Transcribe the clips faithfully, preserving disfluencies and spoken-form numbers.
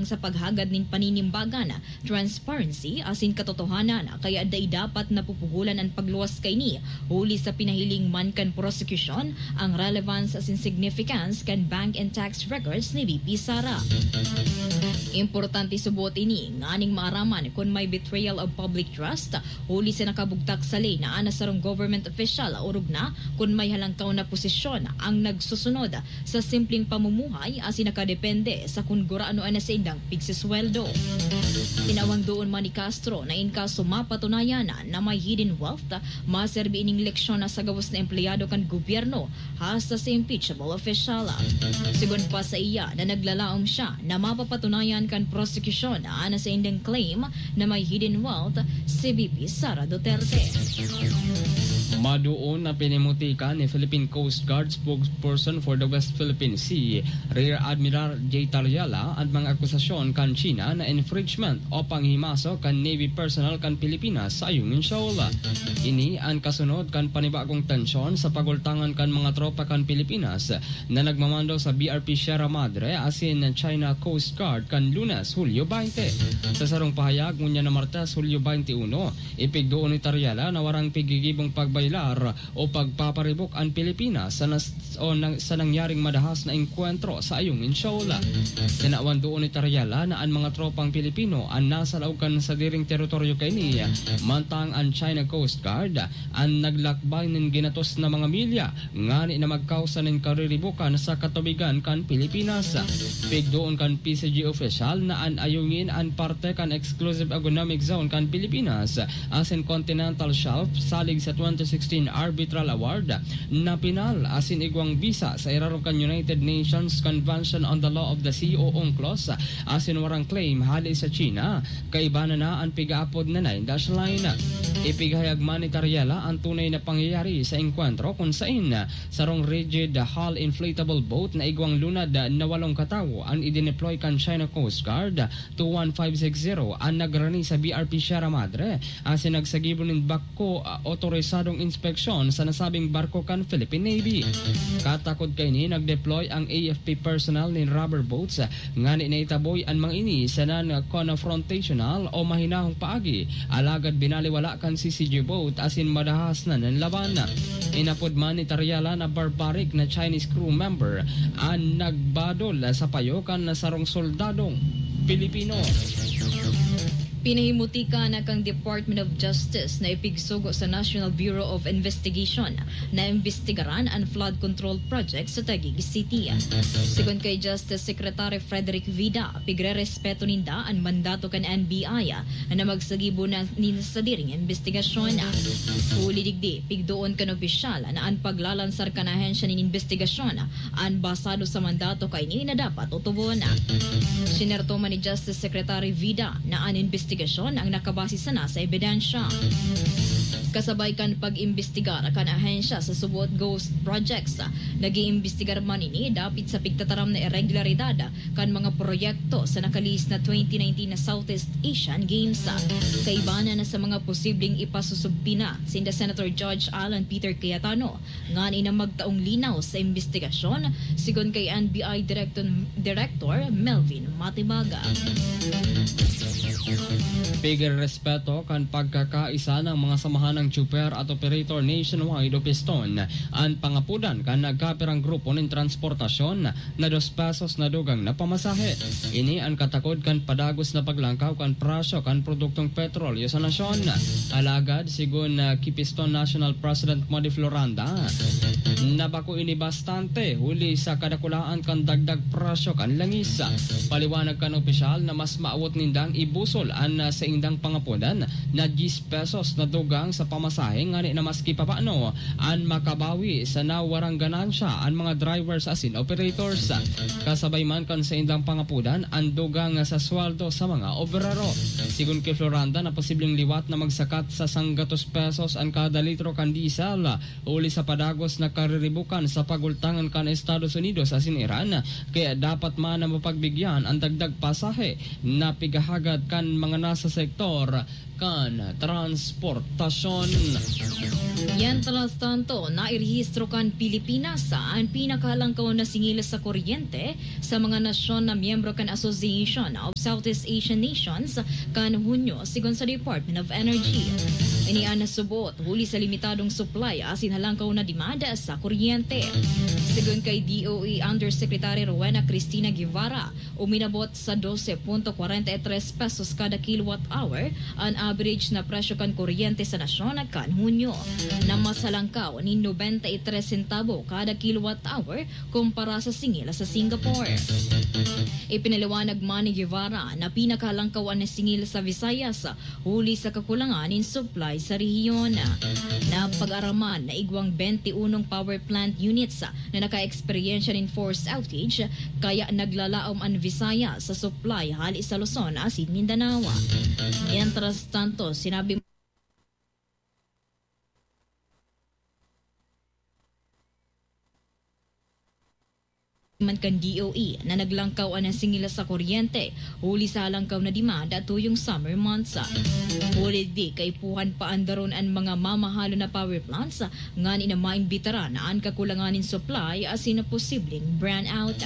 sa paghagad nin paninimbagan, transparency asin katotohanan, kaya dai dapat napupugolan an pagluwas kaini, huli sa pinahiling man kan prosekusyon ang relevance asin significance kan bank and tax records ni V P Sara. Importante subot ini nganing maaraman kun may betrayal of public trust, huli sa nakabugtak sa ley na an sarong government official, orog na kun may halangkaw na posisyon ang nagsusunod sa simpleng pamumuhay asin nakadepende sa kun gurano an saindang pigsisweldo. Tinawang doon man ni Castro na in kaso mapatunayan na may hidden wealth, maserbi ining leksyon na sa gabos na empleyado kan gobyerno hasta sa impeachable official. Sigon pa sa iya na naglalaom siya na mapapatunayan kan prosekusyon an saindang claim na may hidden wealth si V P Sara Duterte. Madoon na pinimutika ni Philippine Coast Guard spokesperson for the West Philippine Sea, Rear Admiral Jay Tariala, an mga akusasyon kan China na infringement o panghimaso kan Navy personnel kan Pilipinas sa Ayungin Shoal. Ini an kasunod kan panibagong tensyon sa pagultangan kan mga tropa kan Pilipinas na nagmamando sa B R P Sierra Madre asin China Coast Guard kan Lunes, Hulyo twenty. Sa sarong pahayag ngunyan na Martes, Hulyo twenty-one, ipigdoon ni Tariala na warang pigigibong pagbaylar o pagpaparibok an Pilipinas sa nas-, o nang, sa nangyaring madahas na engkwentro sa Ayungin Shoal. Tinawan doon ni Tariala na an mga tropang Pilipino an nasa laog kan sadiring teritoryo kaini, mantang an China Coast Guard an naglakbay nin ginatos na mga milya ngani na magkausa nin kariribokan sa katubigan kan Pilipinas. Pigdoon kan P C G opisyal na an Ayungin an parte kan Exclusive Economic Zone kan Pilipinas asin Continental Shelf salig sa twenty sixteen Arbitral Award na pinal asin igwang bisa sa irarom kan United Nations Convention on the Law of the Sea o UNCLOS asin warang claim hali sa China. Kaiba na na an pigaapod na Nine Dash Line. Ipigahayag man ni Tariala an tunay na pangyayari sa engkwentro kun sain sarong rigid hull inflatable boat na igwang lunad na walong katawo an idineploy kan China Coast Guard two one five six zero an nagrani sa B R P Sierra Madre asin nagsagibo nin bako, ah, otorisadong inspeksyon sa nasabing barko kan Philippine Navy. Katakod kaini, nagdeploy ang A F P personnel nin rubber boats, ah, ngani na itaboy an mga ini sa non-confrontational o mahinahong paagi, alagad binaliwala kan C C G boat asin madahas na nanlaban. Inapod man ni Tariala na barbaric na Chinese crew member an nagbadol sa payo kan sarong soldadong Pilipino. Pinahimutika na kan Department of Justice na ipigsugo sa National Bureau of Investigation na imbestigaran an flood control project sa Taguig City. Sigon kay Justice Secretary Frederick Vida, pigrerespeto ninda an mandato kan N B I na magsagibo na nin sadiring imbestigasyon. Huli digdi, pigdoon kan opisyal na an paglalansar kan ahensya nin imbestigasyon an basado sa mandato kaini na dapat otobon. Sinerto man ni Justice Secretary Vida na an imbestigasyon ang nakabase sana sa ebidensya. Kasabay kan pag-imbestigar kan ahensya sa subot ghost projects, nag-iimbestigar man ini dapit sa pigtataram na iregularidad kan mga proyekto sa nakalihis na twenty nineteen na Southeast Asian Games. Kaibanan na sa mga posibleng ipasusubpina sinda Senator Judge Alan Peter Cayetano, ngani na magtaong linaw sa imbestigasyon, sigon kay N B I Director, Director Melvin Matibaga. Pigrespeto kan pagkakaisa ng mga samahan ng tsuper at operator nationwide o piston an pangapodan kan nagkapirang grupo nin transportasyon na dos pesos na dugang na pamasahe. Ini an katakod kan padagos na paglangkaw kan presyo kan produktong petrolyo sa nasyon. Alagad, sigon, ah, ki Piston National President Modi Floranda, na bako ini bastante huli sa kadakulaan kan dagdag presyo kan langis. Paliwanag kan opisyal na mas maawot nindang ibusol an, ah, saindang pangapodan na diyes pesos na dugang sa pamasahe, ngani na maski papaano an makabawi sa nawarang ganansya an mga drivers asin operators. Kasabay man kan saindang pangapodan an dugang sa sweldo sa mga obrero. Sigon ki Floranda na posibleng liwat na magsakat sa sanggatos pesos an kada litro kan diesel, huli sa padagos na kariribukan sa pagultangan kan Estados Unidos asin Iran, kaya dapat man na mapagbigyan an dagdag pasahe na pigahagad kan mga nasa sektor kan transportasyon. Mientras tanto, nairehistro kan Pilipinas an pinakahalangkaw na singil sa kuryente sa mga nasyon na miyembro kan Association of Southeast Asian Nations kan Hunyo, sigon sa Department of Energy. Ini an nasuboot huli sa limitadong supply asin halangkaw na demand sa kuryente. Sigon kay D O E Undersecretary Rowena Cristina Guevara, uminabot sa dose punto kwarenta y tres pesos kada kilowatt hour an average na presyo kan kuryente sa nasyon kan Hunyo, na mas halangkaw nin nobenta y tres sentabo kada kilowatt hour kumpara sa singil sa Singapore. Ipinaliwanag man ni Guevara na pinakahalangkaw an singil sa Visayas huli sa kakulangan nin supply sa rehiyon. Napag-araman na igwang bente unong power plant units na naka-eksperyensya nin forced outage, kaya naglalaom an Visayas sa supply hali sa Luzon asin Mindanao. Mientras tanto, sinabi man kan D O E na naglangkaw an singil sa kuryente huli sa halangkaw na demand tuyong summer months. Huli digdi, kaipuhan paandaron an mga mamahalon na power plants ngani na maimbitaran an kakulangan nin supply asin na posibleng brownout.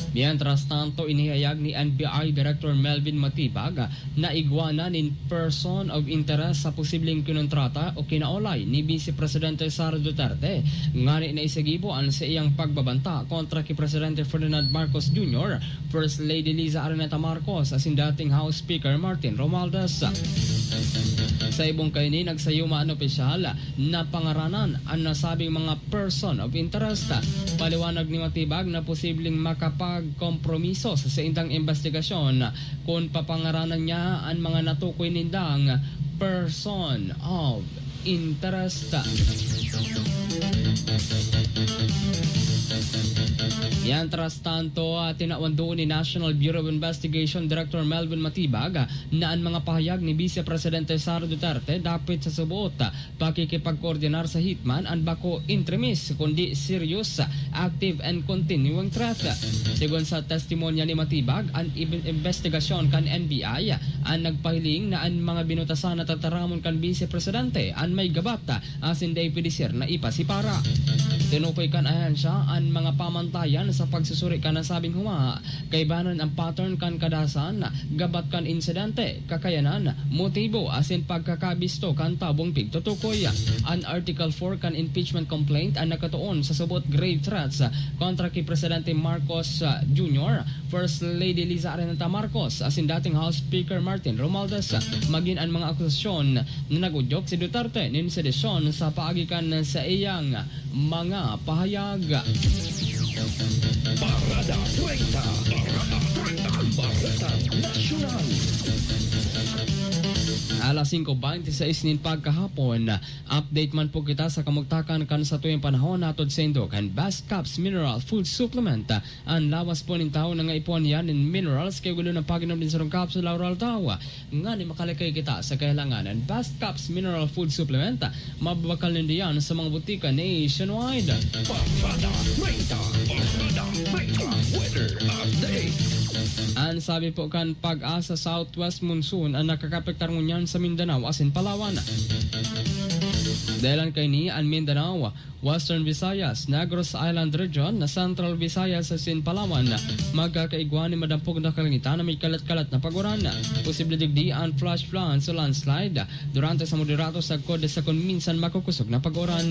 Mientras tanto, inihayag ni N B I Director Melvin Matibag na igwa na nin person of interest sa posibleng kinontrata o kinaolay ni Vice Presidente Sara Duterte, ngani na isigibo an saiyang pagbabanta kontra ki Presidente Ferdinand Marcos Junior, First Lady Liza Araneta Marcos asin dating House Speaker Martin Romualdez. Sa ibong kaini, nagsayuma an opisyal na pangaranan an nasabing mga person of interest. Paliwanag ni Matibag na posibleng makapagkompromiso sa saindang imbestigasyon kun papangaranan niya an mga natukoy nindang person of interest. Mientras tanto, ah, tinawan duon ni National Bureau of Investigation Director Melvin Matibag, ah, na an mga pahayag ni Vice Presidente Sara Duterte dapit sa suboot, ah, pakikipagkoordinar sa hitman an bako intremis, kundi serious, ah, active and continuing threat. Sigon sa testimonya ni Matibag, an ibe-, imbestigasyon kan N B I, ah, an nagpahiling na an mga binutasan na tataramon kan Vice Presidente an may gabat, ah, asin dai pwede siya na ipasipara. Tinukoy kan ahensya an mga pamantayan sa pagsusuri kan nasabing huma, kaibanan ang pattern kan kadasan, gabat kan insidente, kakayanan, motibo, asin pagkakabisto kan tabong pigtutukoy. An Article four kan impeachment complaint an nakatuon sa subot grave threats kontra ki Presidente Marcos, ah, Junior, First Lady Liza Araneta Marcos, asin dating House Speaker Martin Romualdez, magin an mga akusasyon na nag-udyok si Duterte nin sedisyon sa paagi kan saiyang mga pahayag. Parada treinta. Parada treinta. Bareta Nasyonal. Alas singko bente seis nin pagkahapon, update man po kita sa kamugtakan kan satuyang panahon, hatod saindo kan Best Caps Mineral Food Supplement. An lawas po nin tawo nangaipuhan yan nin minerals, kaya gulo ng pag-inom nin sarong capsule aroaldaw. Ngani makalikay kita sa kahilangan. An Best Caps Mineral Food Supplement, mababakal nindo yan sa mga butika nationwide. Parada treinta. Parada treinta. Weather update. An sabi po kan Pag-asa, southwest monsoon an nakakapektar ngunyan sa Mindanao asin Palawan. Dahilan kaini, an Mindanao, Western Visayas, Negros Island Region, Central Visayas asin Palawan, magkakaigwa nin madampog na kalangitan na may kalat-kalat na pag-uran. Posible digdi an flash floods o landslide durante sa moderado sagkod sa kun minsan makukusog na pag-uran.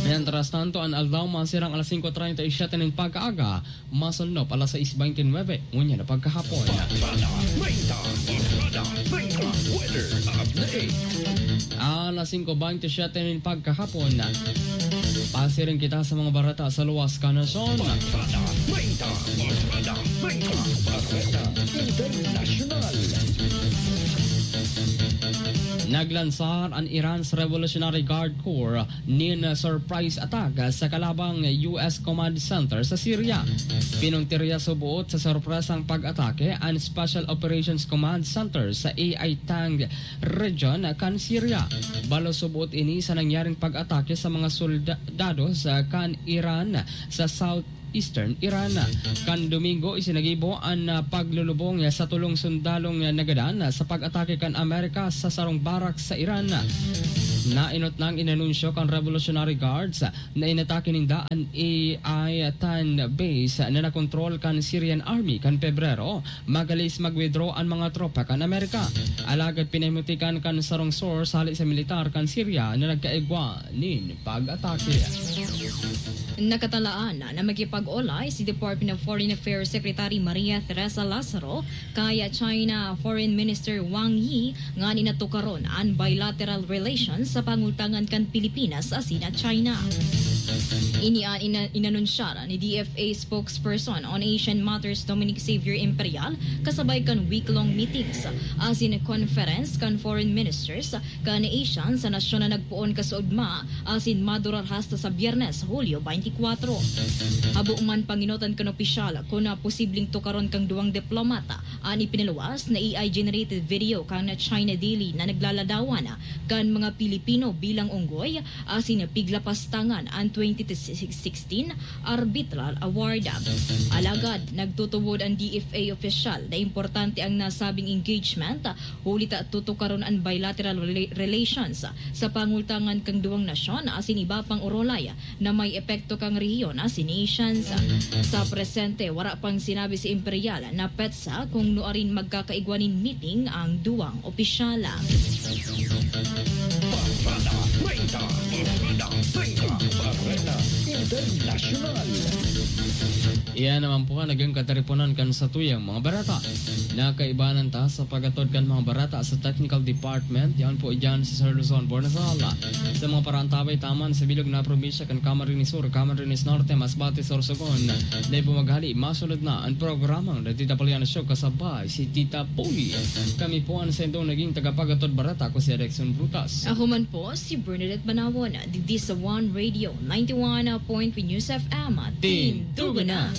Mientras tanto, an aldaw masirang alas singko treinta y siete nin pagkaaga, masunop alas sais bente nuebe, ngunyan na pagkahapon. Parada treinta, Parada treinta, weather update. Alas singko bente siete nin pagkahapon, pasiring kita sa mga bareta sa luwas kan nasyon. Parada treinta, Parada treinta, Bareta Internasyonal. Naglansar an Iran's Revolutionary Guard Corps nin surprise attack sa kalabang U S Command Center sa Syria. Pinuntirya suboot sa sorpresang pag-atake an Special Operations Command Center sa A I Tang region kan Syria. Balo suboot ini sa nangyaring pag-atake sa mga soldado sa kan Iran sa South Eastern Iran. Kan Domingo, isinagibo an, ah, paglulubong sa tolong sundalong nagadan sa pag-atake kan Amerika sa sarong barak sa Iran. Nainot nang inanunsyo kan Revolutionary Guards na inatake ninda an A I ten base na nakontrol kan Syrian Army kan Pebrero, magalis mag-withdraw an mga tropa kan Amerika. Alagad pinahimutikan kan sarong source hali sa militar kan Syria na nagkaigwa nin pag-atake. Nakatalaan na makipag-olay si Department of Foreign Affairs Secretary Maria Teresa Lazaro kay China Foreign Minister Wang Yi nganing tukaron an bilateral relations sa pangultangan kan Pilipinas asin China. Ini an ina-, inanunsyar ni D F A spokesperson on Asian Matters Dominic Xavier Imperial kasabay kan week-long meetings asin conference kan foreign ministers kan ASEAN sa nasyon na nagpoon kasaugma asin madurar hasta sa Biyernes, Hulyo twenty-four. Habo man panginotan kan opisyal kun posibleng tukaron kan duwang diplomata an ipinaluwas na A I-generated video kan China Daily na naglaladawan kan mga Pilipino bilang unggoy asin piglapastangan an twenty sixteen Arbitral Award. Alagad, nagtutubod an D F A opisyal na importante ang nasabing engagement, huli ta tutukaron an bilateral rela-, relations sa pangultangan kan duwang nasyon asin iba pang orolay na may epekto kan rehiyon asin nations. Sa presente, wara pang sinabi si Imperial na petsa kung nuarin magkakaigwa nin meeting ang duwang opisyal. Bareta treinta, Bareta treinta, Bareta Internasyonal. Iyan naman po ang naging kataripunan kan satuyang mga bareta. Nakaibanan ta sa pag-atod kan mga bareta sa technical department. Yan po dyan sa Sir Luzon, Bornasal. Sa mga paraantabay taman sa bilog na probinsya kan Camarines Sur, Camarines Norte, Masbate, Sorsogon. Dahil po maghali, masunod na ang programang The Tita Poliana Show kasabay si Tita Poli. Kami po ang sendong naging tagapag-atod bareta, ako si Alexon Brutas. Ako man po, si Bernadette Banawon, digdi sa One Radio, ninety-one point three News F M. Tindugo na!